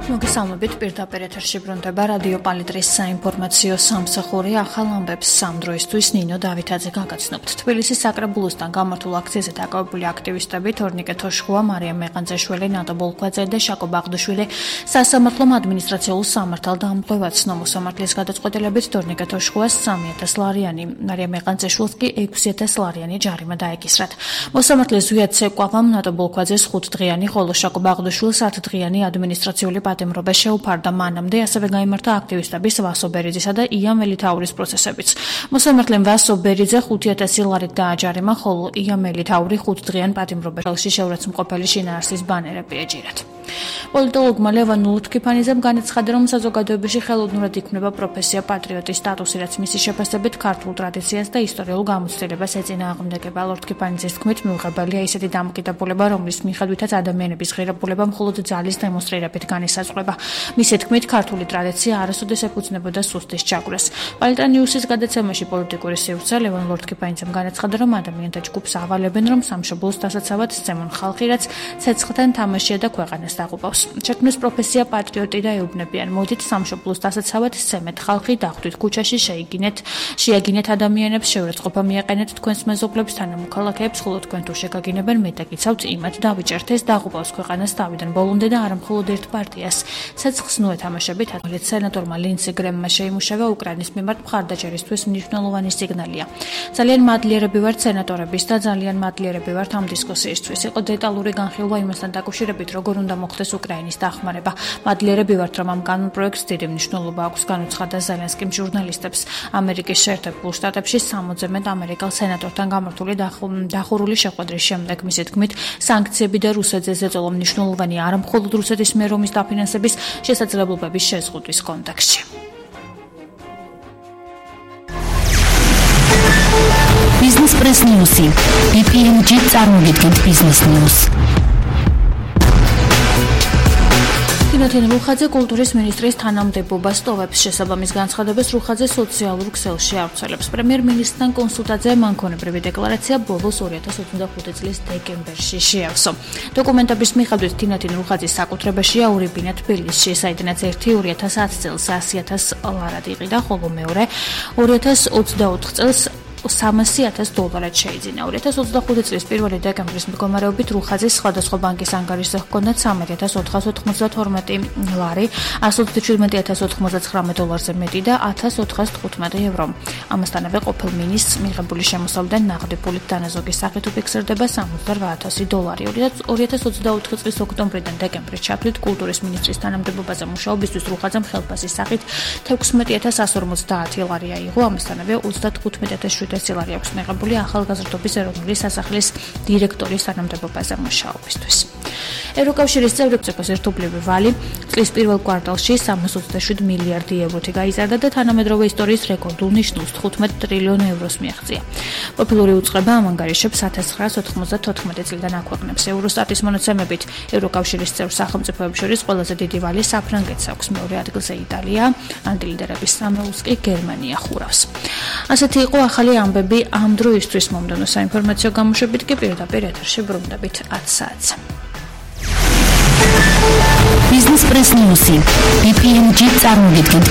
მოგესალმებით, პირდაპირ ეთერში ბრუნდება რადიო პალიტრის საინფორმაციო სამსახური. ახალ ამბებს სამ დროისთვის ნინო დავითაძე გაგაცნობთ. თბილისის საკრებულოსთან გამართულ აქციაზე დაკავებული აქტივისტები თორნიკე თოშხუა, მარიამ მეყანძეშვილი, ნატო ბოლქვაძე და შაკო ბაღდუშვილი სასამართლომ ადმინისტრაციულ სამართალ დამკვევად ცნო. მოსამართლის გადაწყვეტილებით თორნიკე თოშხუას 3,000 ლარიანი, მარიამ მეყანძეშვილს კი 6,000 ლარიანი ჯარიმა დაეკისრათ. მოსამართლის ზვიად ცეკვავამ ნატო ბოლქვაძეს 5 დღიანი, ხოლო შაკო ბაღდუშვილს 10 დღიანი ადმინისტრაციული პატიმრობა შეუფარდა. მანამდე ასევე გაიმართა აქტივისტების ვასო ბერიძისა და ია მელითაურის პროცესებიც. მოსამართლემ ვასო ბერიძე 5,000 ლარით დააჯარიმა, ხოლო ია მელითაური 5 დღიან პატიმრობაში შეურაცხმყოფელი შინაარსის ბანერები ეჯირათ. პოლიტოლოგმა ლევან ლუთქიფანიძემ განაცხადა, რომ საზოგადოებაში ხელოვნურად იქმნება პროფესია პატრიოტის სტატუსი, რაც მისი შეფასებით ქართულ ტრადიციას და ისტორიულ გამოცდილებას ეწინააღმდეგება. ლუთქიფანიძის თქმით, მიუღებელია ისეთი დამოკიდებულება, რომლის მიხედვითაც ადამიანების ღირებულება მხოლოდ ძალის დემონსტრირებით განისაზღვრება. მისი თქმით, ქართული ტრადიცია არასოდეს ეფუძნებოდა სუსტის ჩაგვრას. პალიტა ნიუსის გადაცემაში პოლიტიკური სივრცე ლევან ლუთქიფანიძემ განაცხადა, რომ ადამიანთა ჯგუფს ავალებენ, რომ სამშობლოს დასაცავად სცემონ ხალხი, რაც ცეცხლთან თამაშია და ქვეყანას დაღუპავს. შექმნეს პროფესია პატრიოტი და ეუბნებიან, მოდით სამშობლოს დასაცავად სცემეთ ხალხი, დახვდით ქუჩაში, შეაგინეთ ადამიანებს, შეურაცხყოფა მიაყენეთ თქვენს მეზობლებს, თანამოქალაქეებს, ხოლო თქვენ თუ შეგაგინებენ, მე დაგიცავთ იმათ დავიჭერთ, ეს დაღუპავს ქვეყანას თავიდან ბოლომდე და არა მხოლოდ ერთ პარტიას. ცეცხლს ნუ ეთამაშებით, სენატორმა ლინდსი გრემმა შეიმუშავა უკრაინის მიმართ მხარდაჭერისთვის მნიშვნელოვანი სიგნალია. ძალიან მადლიერები ვართ სენატორების და ძალიან მადლიერები ვართ ამ დისკუსიისთვის. იყო დეტალური განხილვა იმასთან დაკავშირებით, როგორ უნდა მოხდეს უკრაინის დახმარება. მადლიერები ვართ, რომ ამ კანონპროექტს დიდი მნიშვნელობა აქვს, განუცხადა ზელენსკიმ ჟურნალისტებს. ამერიკის შეერთებულ შტატებში 60-ზე მეტ ამერიკელ სენატორთან გამართული დახურული შეხვედრის შემდეგ მისი თქმით, სანქციები და რუსეთზე ზეწოლა მნიშვნელოვანია არა მხოლოდ რუსეთის მიერ ომის დაფინანსების შესაძლებლობების შეზღუდვის კონტექსტში. Business Press News. BPMG წარმოგიდგენთ Business News. თინათინ რუხაძე კულტურის მინისტრის თანამდებობას ტოვებს. შესაბამის განცხადებას რუხაძე სოციალურ ქსელში ავრცელებს. პრემიერ-მინისტრთან კონსულტაციაზე მანქონებრივი დეკლარაცია ბოლოს 2025 წლის დეკემბერში შეავსო. დოკუმენტების მიხედვით თინათინ რუხაძის საკუთრებაშია ორი ბინა თბილისში, საიდანაც ერთი 2010 წელს 100,000 ლარად იყიდა, ხოლო მეორე 2024 წელს $300,000 შეიძინა. 2025 წლის 1 დეკემბრის მდგომარეობით რუხაძის სხვადასხვა ბანკის ანგარიშზე ჰქონდა $3,492 ლარი, $127,099 მეტი და €1,415. ამასთანავე ყოფილ მინისტრს მიღებული შემოსავლიდან ნაღდი ფულით დანაზოგის სახით უფიქსირდება $68,000. 2024 წლის ოქტომბრიდან დეკემბრის ჩათვლით კულტურის მინისტრის თანამდებობაზე მუშაობისთვის რუხაძემ ხელფასის სახით $16,150 ლარი აიღო, ამასთანავე $35,700 ლარი აქვს მიღებული ახალგაზრდობის ეროვნული სასახლის დირექტორის თანამდებობაზე მუშაობისთვის. ევროკავშირის წევრი ევროპის ერთობლივი ვალი წლის პირველ კვარტალში 327 მილიარდი ევროთი გაიზარდა და თანამედროვე ისტორიის რეკორდულ ნიშნულს 15 ტრილიონ ევროს მიაღწია. ყოფილური უწყება ამ ანგარიშებს 1994 წლიდან აქვეყნებს. ევროსტატის მონაცემებით ევროკავშირის წევრ სახელმწიფოებს შორის ყველაზე დიდი ვალი საფრანგეთს აქვს, მეორე ადგილზე იტალია, ანტილიდერების სამეულს კი გერმანია ხურავს. ასეთი იყო ახალი ამბები ამ დროისთვის. მომდევნო საინფორმაციო გამოშვებით კი პირდაპირ ეთერში ბრუნდებით 10 საათზე. Business Press News. BPMG წარმოგიდგენთ